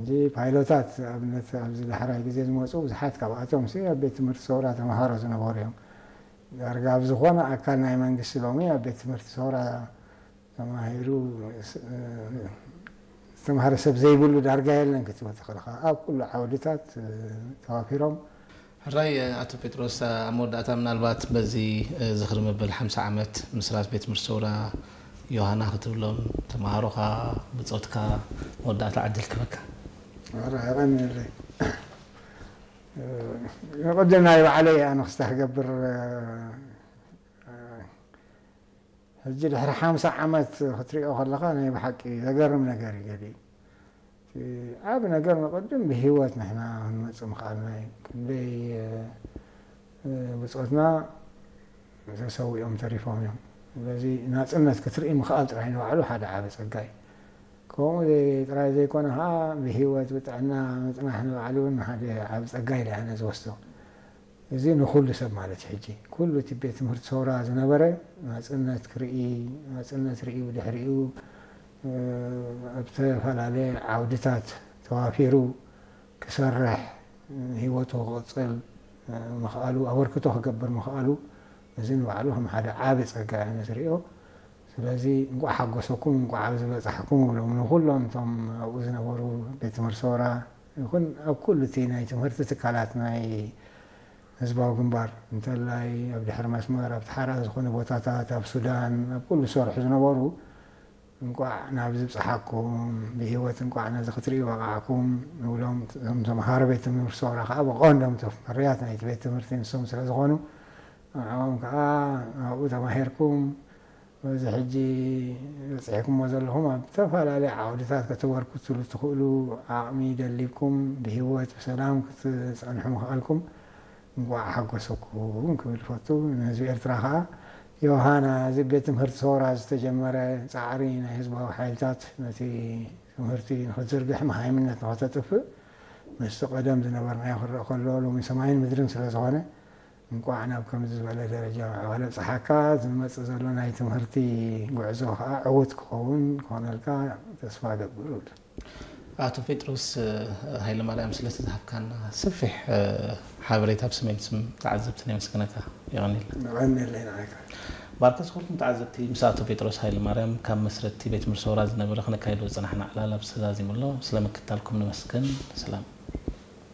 እዚ ፓይሎታት ኣብነት ኣብዚ ዳሕራይ ግዜ ዝመፁ ብዙሓት ካብኣቶም ሲ ኣብ ቤት ትምህርቲ ሰውራ ተምሃሮ ዝነበሩ እዮም። ዳርጋ ኣብ ዝኾነ ኣካል ናይ መንግስቲ ሎሚ ኣብ ቤት ትምህርቲ ሰውራ ተማሂሩ ዝተምሃረ ሰብ ዘይብሉ ዳርጋ የለን ክትብል ትኽእል ኢኻ። ኣብ ኩሉ ዓውድታት ተዋፊሮም። ሕራይ ኣቶ ጴጥሮስ፣ ኣብ መወዳእታ ምናልባት በዚ ዝኽሪ መበል ሓምሳ ዓመት ምስራት ቤት ትምህርቲ ሰውራ ዮሃና ክትብሎም ተምሃሮኻ ብጾትካ መወዳእታ ዕድል ክበካ። ኧረ የቐንየለይ። ቅድም ናይ ባዕለይ ኣነ ክስታ ክገብር ሕጂ ድሕሪ ሓምሳ ዓመት ክትሪኦ ከለኻ ናይ ብሓቂ ዘገርም ነገር እዩ ገሊኡ። እቲ ዓቢ ነገር ንቕድም ብህይወት ንሕና ክንመጽእ ምኽኣልና እዩ። ክንደይ ብጾትና ተሰዊኦም ተሪፎም እዮም። ስለዚ ናጽነት ክትርኢ ምኽኣል ጥራይ ንባዕሉ ሓደ ዓቢ ጸጋ እዩ። ከምኡ ጥራይ ዘይኮነ ከዓ ብህይወት ብጥዕና ምጽናሕ ንባዕሉ እውን ሓደ ዓቢ ጸጋ ኢለ ኣነ ዝወስዶ። እዚ ንኹሉ ሰብ ማለት እዩ። ሕጂ ኩሉ እቲ ቤት ትምህርቲ ሰውራ ዝነበረ ናጽነት ክርኢ፣ ናጽነት ርእዩ ድሕሪኡ ኣብ ዝተፈላለየ ዓውድታት ተዋፊሩ ክሰርሕ፣ ህይወቱ ክቕጽል ምኽኣሉ፣ ኣበርክቶ ክገብር ምኽኣሉ፣ እዚ ንባዕሉ ከም ሓደ ዓቢ ጸጋ እየ ዝርእዮ። ስለዚ እንቋዕ ሓጎሰኩም፣ እንቋዕ ኣብዚ በጻሕኩም እብሎም ንኹሎም እቶም ኣብኡ ዝነበሩ ቤት ትምህርቲ ሰውራ ይኹን ኣብ ኩሉ እቲ ናይ ትምህርቲ ትካላት ናይ ህዝባዊ ግንባር እንተላይ ኣብ ድሕሪ መስመር፣ ኣብ ተሓራ ዝኾነ ቦታታት፣ ኣብ ሱዳን፣ ኣብ ኩሉ ዝሰርሑ ዝነበሩ እንቋዕ ናብዚ ብጽሓኩም፣ ብህይወት እንቋዕ ነዚ ክትርእዩ በቓዕኩም ንብሎም። እቶም ተምሃሮ ቤት ትምህርቲ ሰውራ ከዓ ብቐንዶም እቶም ፍርያት ናይቲ ቤት ትምህርቲ ንሶም ስለ ዝኾኑ ንዕኦም ከዓ ኣብኡ ተማሂርኩም በዚ ሕጂ በጺሕኩሞ ዘለኹም ኣብ ዝተፈላለየ ዓውድታት ከተበርክቱሉ ትኽእሉ ዓቕሚ ደሊብኩም ብህይወት ብሰላም ክትጸንሑ ምኽኣልኩም እንቋዕ ሓጎሰኩም ክብል እፈቱ። ንህዝቢ ኤርትራ ከኣ ዮሃና እዚ ቤት ትምህርቲ ሰውራ ዝተጀመረ ጻዕሪ ናይ ህዝባዊ ሓይልታት ነቲ ትምህርቲ ንኽትዝርግሕ መሃይምነት ንኸተጥፍእ ምስቲ ቀደም ዝነበርናዮ ክረአ ከሎ ሎሚ ሰማይን ምድርን ስለ ዝኾነ እንቋዕ ናብ ከምዚ ዝበለ ደረጃ ምዕባለ ኣብጽሓካ። ዝመጽእ ዘሎ ናይ ትምህርቲ ጉዕዞ ከኣ ዕዉት ክኸውን ክኾነልካ ተስፋ እገብር እብል። ኣቶ ጴጥሮስ ሃይለማርያም ስለቲ ዝሃብካና ሰፊሕ ሓበሬታ ብስሜን ስም ተዓዘብትን የመስግነካ። የቐንየልና። የቐንየለይ ንዓካ። ባርከስ ኩልኩም ተዓዘብቲ ምስ ኣቶ ጴጥሮስ ሃይለማርያም ካብ መስረቲ ቤት ትምህርቲ ሰውራ ዝነበረ ክነካይዶ ዝጸናሕና ዕላል ኣብዚ ተዛዚሙ ኣሎ። ስለ ምክታልኩም ነመስግን። ሰላም።